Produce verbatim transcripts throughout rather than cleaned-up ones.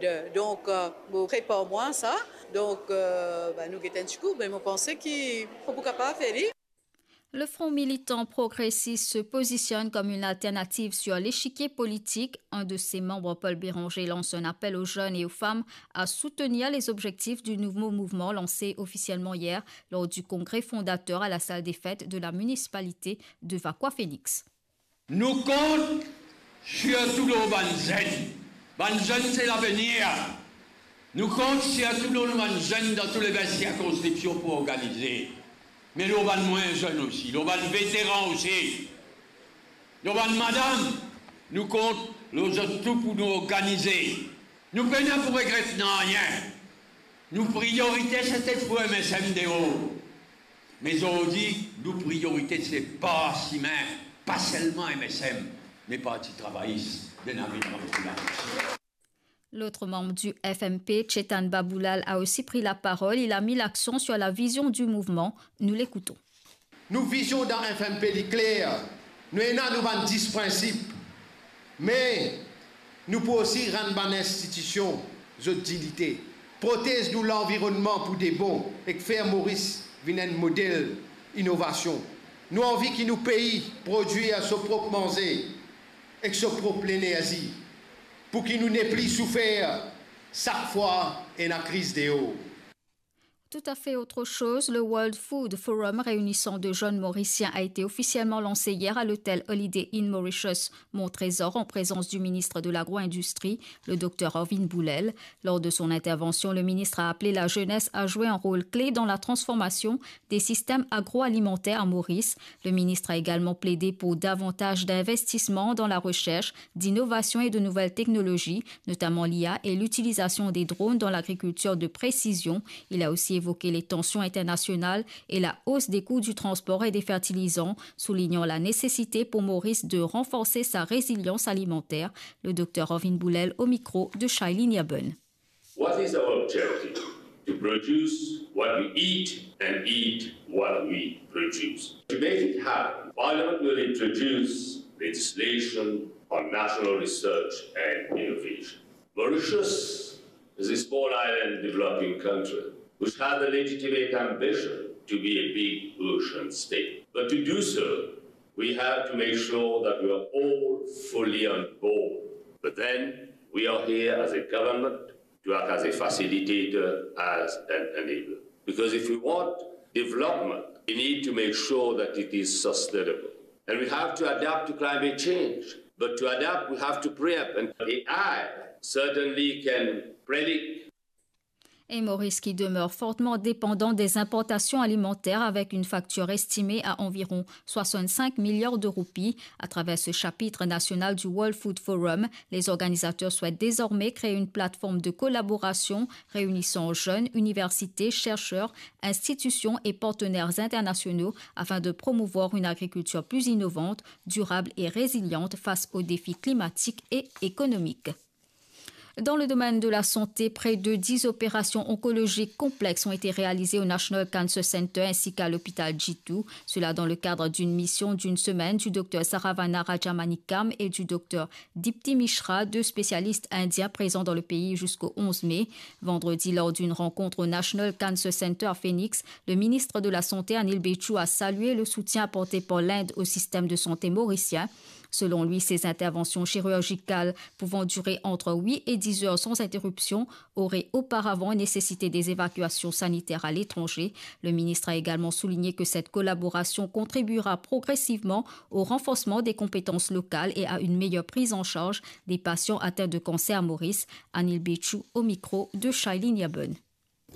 De- Donk, euh, mo prepar mwa sa. Donk, euh, ben, nou get enn ti kou, me mo panse ki pou, pou kapav fer li. Le Front Militant Progressiste se positionne comme une alternative sur l'échiquier politique. Un de ses membres, Paul Bérenger, lance un appel aux jeunes et aux femmes à soutenir les objectifs du nouveau mouvement lancé officiellement hier lors du congrès fondateur à la salle des fêtes de la municipalité de Vacoas Phoenix. Nou kont sirtou lor bann zenn. Bann zenn se lavenir. Nou kont sirtou lor nou bann zenn dan tou le ven sirkonskripsion pou organize. Me lor bann mwin zenn osi, lor bann veteran osi, lor bann madam, nou kont lor zot tou pou nou organize. Nou pena pou regret nanye. Nou priorite se te pou M S M deor. Me zordi, nou priorite se par sime, pa selman M S M, me Parti Travayis de Navi Popularis. L'autre membre du F M P, Chetan Baboulal, a aussi pris la parole. Il a mis l'accent sur la vision du mouvement. Nous l'écoutons. Nou vizion dan F M P li kler. Nou ena nou bann dis prinsip. Me nou pou osi rann bann institision zot dignite, protez nou lanvironnman pou de bon ek fer Moris vinn enn model inovasion. Nou anvi ki nou pei prodwir so prop manze ek so prop lenerzi, pou ki nou nepli soufer sak fwa ena kriz deor. Tout à fait autre chose, le World Food Forum réunissant de jeunes Mauriciens a été officiellement lancé hier à l'hôtel Holiday Inn Mauritius Mont Trésor en présence du ministre de l'Agro-Industrie, le docteur Arvin Boulel. Lors de son intervention, le ministre a appelé la jeunesse à jouer un rôle clé dans la transformation des systèmes agroalimentaires à Maurice. Le ministre a également plaidé pour davantage d'investissements dans la recherche, d'innovation et de nouvelles technologies, notamment l'I A et l'utilisation des drones dans l'agriculture de précision. Il a aussi évoqué les tensions internationales et la hausse des coûts du transport et des fertilisants, soulignant la nécessité pour Maurice de renforcer sa résilience alimentaire. Le docteur Arvin Boulel au micro de Shailene Yaben. What is our objective? To produce what we eat and eat what we produce. To make it happen, Parliament will introduce legislation on national research and innovation. Mauritius is a small island developing country which has a legitimate ambition to be a big ocean state. But to do so, we have to make sure that we are all fully on board. But then, we are here as a government to act as a facilitator, as an enabler. Because if we want development, we need to make sure that it is sustainable. And we have to adapt to climate change. But to adapt, we have to preempt. And A I certainly can predict. Et Maurice qui demeure fortement dépendant des importations alimentaires avec une facture estimée à environ soixante-cinq milliards de roupies. À travers ce chapitre national du World Food Forum, les organisateurs souhaitent désormais créer une plateforme de collaboration réunissant jeunes, universités, chercheurs, institutions et partenaires internationaux afin de promouvoir une agriculture plus innovante, durable et résiliente face aux défis climatiques et économiques. Dans le domaine de la santé, près de dix opérations oncologiques complexes ont été réalisées au National Cancer Center ainsi qu'à l'hôpital G two. Cela dans le cadre d'une mission d'une semaine du docteur Saravana Rajamanikam et du docteur Dipti Mishra, deux spécialistes indiens présents dans le pays jusqu'au onze mai. Vendredi, lors d'une rencontre au National Cancer Center à Phoenix, le ministre de la Santé, Anil Bechou, a salué le soutien apporté par l'Inde au système de santé mauricien. Selon lui, ces interventions chirurgicales pouvant durer entre huit et dix heures sans interruption auraient auparavant nécessité des évacuations sanitaires à l'étranger. Le ministre a également souligné que cette collaboration contribuera progressivement au renforcement des compétences locales et à une meilleure prise en charge des patients atteints de cancer à Maurice. Anil Bechou au micro de Shailene Yaben.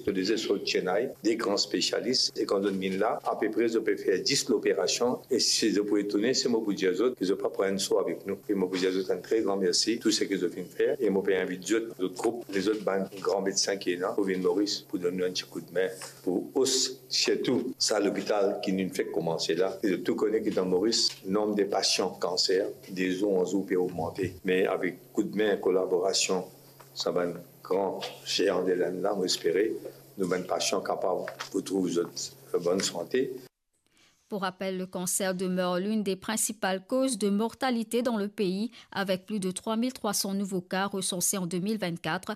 Zot de sort Chennai, de gran spesialis, e kan zot vinn la, apepre zot pe fer dis loperasion, e si zot pou etourne, se mo pou dir zot ki zot pa pran enn so avek nou. E mo pou dir zot enn tre gran mersi, tou seki zot finn fer, e mo pe invit zot, zot group, lezot bann gran medsin ki ena, pou vinn Moris, pou donn nou enn ti koudme, pou os, sirtou sa lopital ki nou fek koumanse la. E zot tou kone ki dan Moris, nonb de pasian kanser, de zour an zour pe ogmante. Me avek koudme, kolaborasion, sa bann gran zean de Lenn la, mo espere nou bann pasian kapav retrouv zot bonn sante. Pour rappel, le cancer demeure l'une des principales causes de mortalité dans le pays, avec plus de trois mille trois cents nouveaux cas recensés en deux mille vingt-quatre,